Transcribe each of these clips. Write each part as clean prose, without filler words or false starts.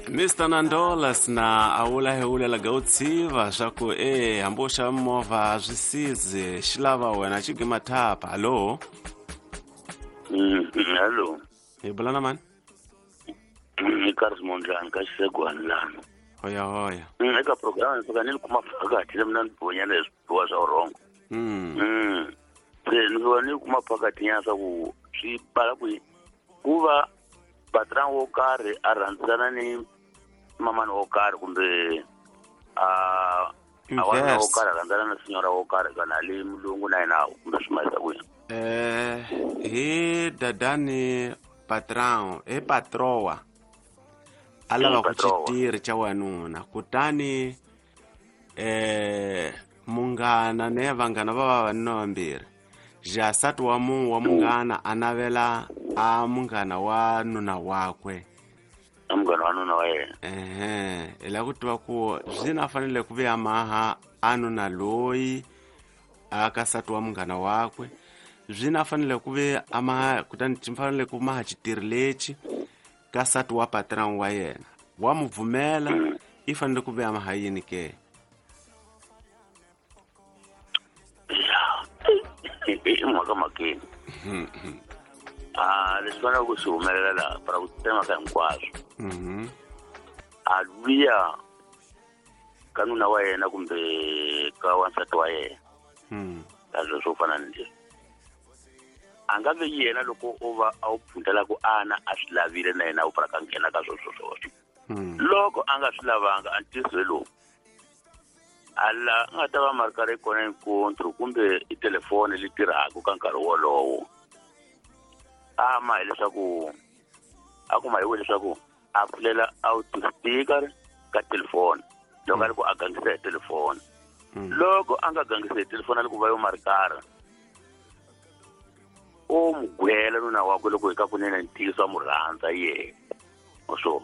Mr Nandolas na a wula hi wulela ga u tshiva swa ku e hambi u xava movha swi sizi xi lava wena xi gima thapa. Hallo. Hello. Hi bula na mani? Ni Karls Mondlane ka Xisegwani lana. Hoya hoya. Eka program ni fika ni kuma phakathi le mina ni bonyana hi swibiwa swa wrong. Se ni fika ni kuma phakathi nyana swa ku swi pala ku ku va patron wo karhi a rhandzana ni mamani wo karhi kumbe a a wanuna wo karhi a rhandzana na sinyora wo karhi kana le mulungu na yena kumbe swi mahisa ku yini? Hi dadani patron hi patroa a lava ku xitirhi xa wanuna, kutani munghana ne vanghana va vavanuna vambirhi, ja nsati wa wa munghana a navela a munghana wa nuna wakwe. A munghana wa nuna wa yena. Ehe, hi lava ku tiva ku zwini a fanele ku vuya maha a nuna loyi a ka nsati wa munghana wakwe, zwini a fanele ku ve a maha, kutani xi fanele ku maha xitirhi lexi ka nsati wa patron wa yena, wa mu pfumela, i fanele ku ve a maha yini ke? I mhaka makeni. Leswi faneleke ku swi humelela laha para ku tsema ka hinkwaswo. A luya ka nuna wa yena kumbe ka wansati wa yena. Ka swilo swo fana ni leswi. A nga ve yena loko o va a wu pfundela ku ana a swi lavile na yena u para ka nghena ka sweswo swoswo. Loko a nga swi lavanga a ntiyiso lowu, ala a nga ta va mari karhi kona encontro kumbe i telefoni leyi tirhaka ka nkarhi wolowo. Ama hileswaku a kuma hi leswaku a pfulela out speaker ka telefoni loko a ri ku a gangisa hi telefoni. Loko a nga gangisa hi telefoni a ri ku va yo mari karhi, o mu gwela nuna wakwe loko hi ka kunene ntiyiso a mu rhandza yena. So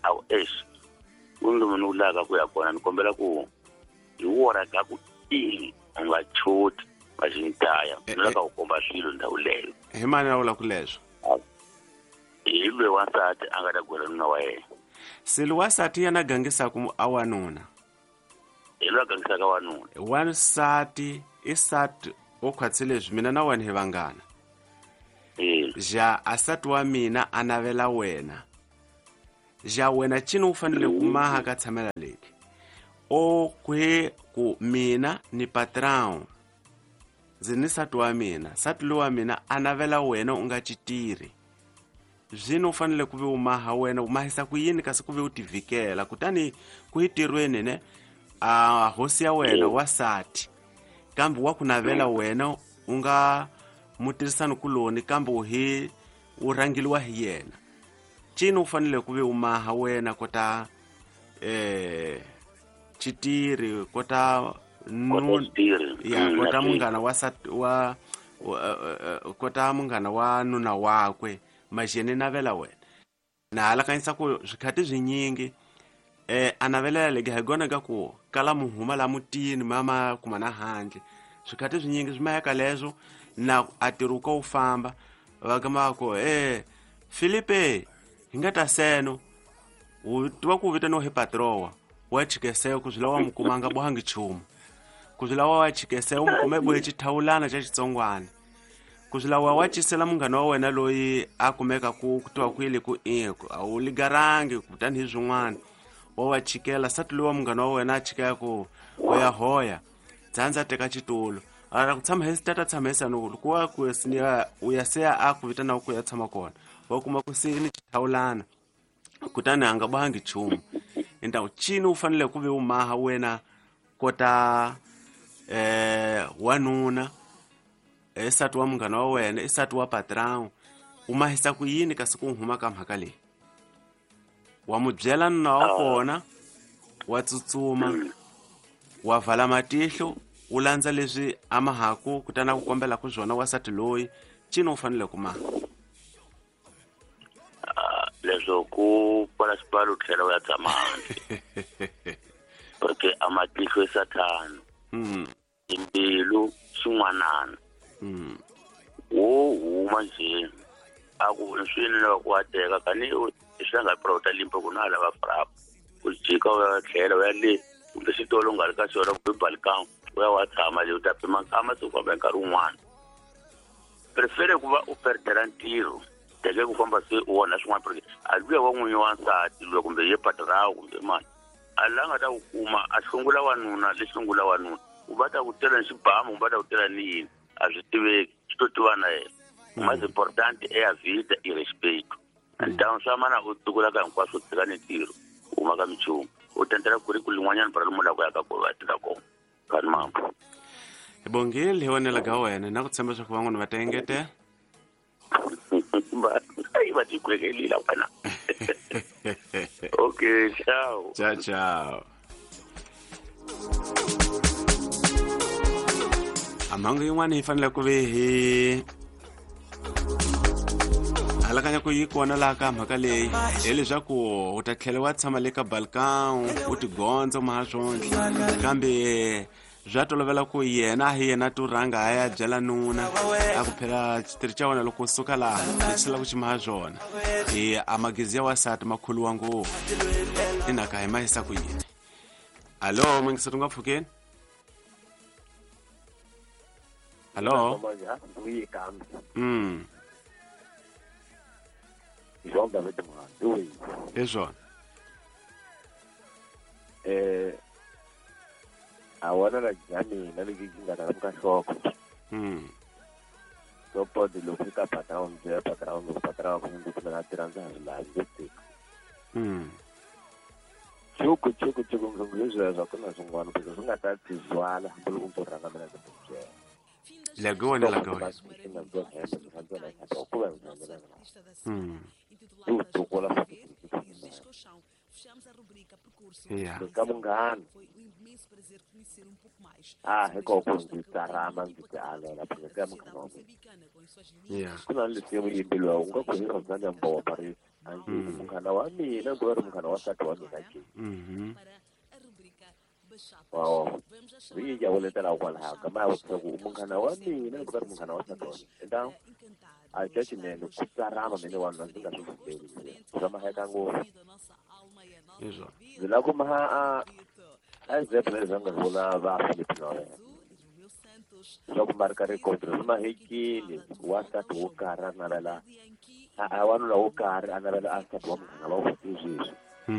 a ku eish, ku ni lomu ni vulaka ku ya kona, ni kombela ku hi wona ka ku i u nga choti va xintaya, ni lava ku komba swilo ndhawu leyo. Hi mani a vula ku leswo? Hi loyi wansati a nga ta gwela nuna wa yena. Se loyi wansati yena a gangisaka a wanuna. Hi loyi a gangisaka wanuna. Wansati i sati o khwatsi leswi mina na wena hi vanghana. Ja a sati wa mina a navela wena. Ja wena cini u fanele ku maha ka tshamela leki. O kwe ku mina ni patron. Ndzi ni sati wa mina, sati loyi wa mina a navela wena u nga xitirhi. Zwino u fanele ku ve u maha wena, u mahisa ku yini kasi ku ve u tivikela. Kutani ku hi tirhweni ne, a hosi ya wena wa sati, kambe wa ku navela wena u nga mutirhisani kuloni, kambe u hi u rhangeliwa hi yena. Cini u fanele ku ve u maha wena kota xitirhi, kota ya kota munghana wa sati wa kota munghana wa nuna wakwe, majene navela wena. Na halakanyisa ku swikhati swinyingi a navelela legi hi gona ka ku kala muhuma la mutini mama kuma na handle. Swikhati swinyingi swi maya leswo na a tirhuka u famba va gama ku Filipe hi nga ta seno u tiva ku vitaniwa hi patroa wa chikese ku swi lava mu kumanga bohangi nchumu, ku swi lava wa chikese u mu kume bohe xithawulana xa xitsongwana, ku swi lava wa cisela munghana wa wena loyi a kumeka ku tiva ku yile ku a wu ligarangi kutani hi swin'wana wa chikela sati loyi wa munghana wa wena a chikela ku u ya hoya dzandza teka xitulu ara ku tshama hi tata tshama hi sano ku wa ku u ya se a ku vitana ku ya tshama kona wa kuma ku se ni xithawulana kutani a nga bohangi nchumu. Intaku cini u fanele ku ve u maha wena kota wanuna nsati wa munghana wa wena, i nsati wa patron, u mahisa ku yini kasi ku huma ka mhaka leyi? Wa mu byela nuna wa kona, wa tsutsuma, wa vala matihlo, u landza leswi a mahaku kutani a ku kombela ku swona wansati loyi, cini u fanele ku maha? Leswo ku pfala xibalo u tlhela u ya tshama handle. Porque a matihlo i sathana. Timbilu xin'wanana. Wo huma nje a ku swini lava ku wa teka kani Leswi a nga prota Limpopo na lava frap u jika u ya tlhela u ya le kumbe xitolo u nga ri ka xona kumbe Balkan u ya wa tshama le u ta pima nkama se u famba hi nkarhi wun'wana. Prefere ku va u perdela ntirho teke ku famba se u onha swin'wana porque a luya wa n'winyi wa nsati luya kumbe ye patrawu kumbe mani a la nga ta ku kuma a hlungula wanuna le hlungula wanuna u va ta ku tela ni xibamu kumbe va ta ku tela ni yini a swi tiveki swi to tiva na yena. Mais importante é a vida e respeito. Então swa mana u tukulaka hinkwaswo u tshika ni ntirho u huma ka minchumu u tendela ku ri ku lin'wanyana para lomu la ku ya ka kona va tirha kona kani mambo. Hi bongile hi vonela ka wena na ku tshemba swa ku van'wana va ta engetela. Va ti kwekelile wena. Okay, ciao. Ciao ciao. A mhangu yin'wana yi fanele ku ve hi halakanya ku yi kona laha ka mhaka leyi hileswaku u ta tlhela wa tshama le ka Balkan u tigondza maha swonhle kambe bya tolovela ku yena hi yena to rhanga a ya byela nuna a ku phela xitirhi xa wena loko u suka laha lexi lava ku xi maha swona hi a magezi ya wasati ma khuluwa ngopfu inaka hi ma yisa ku yini. Alo mingiseri nga pfukeni. Alo. Hi swona. A wona la ya mina lexi xi nga ta ka nhloko. Loko loko ka patrão ndzi patrão loko patrão ku ndzi kumela tirha ndza ha swi lavi ndzi tika. Chuku chuku chuku ndzi sweswo ku na swin'wana because swi nga ta tizwala hambi loko ndzi rhanga mina ndzi byela. Lagoa lagoa. Yeah. Ka munghana. Ah, hiko ku ndzi tsarama ndzi ti alela phela ka munghana wa mina. Yeah. Ku na leswi yimbiwa u nga ku hi rhandza mbowa Paris. A ndzi munghana wa mina ku ri munghana wa nsati wa mina ke. Wow. Ri ya voletela kwalaho ka ma ku munghana wa mina ku ri munghana wa nsati wa mina. Então a xinene ku tsarama mina wanuna ndzi nga swi pfumeli. Swa maheka ngopfu. Izvo. Ndzi lava ku maha a example leswi nga vula va Philip Noel. Swa ku marka record swi mahekile wansati wo karhi a navela a wanuna wo karhi a navela a nsati wa munghana wa sweswi. I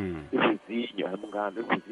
vizinho a munghana i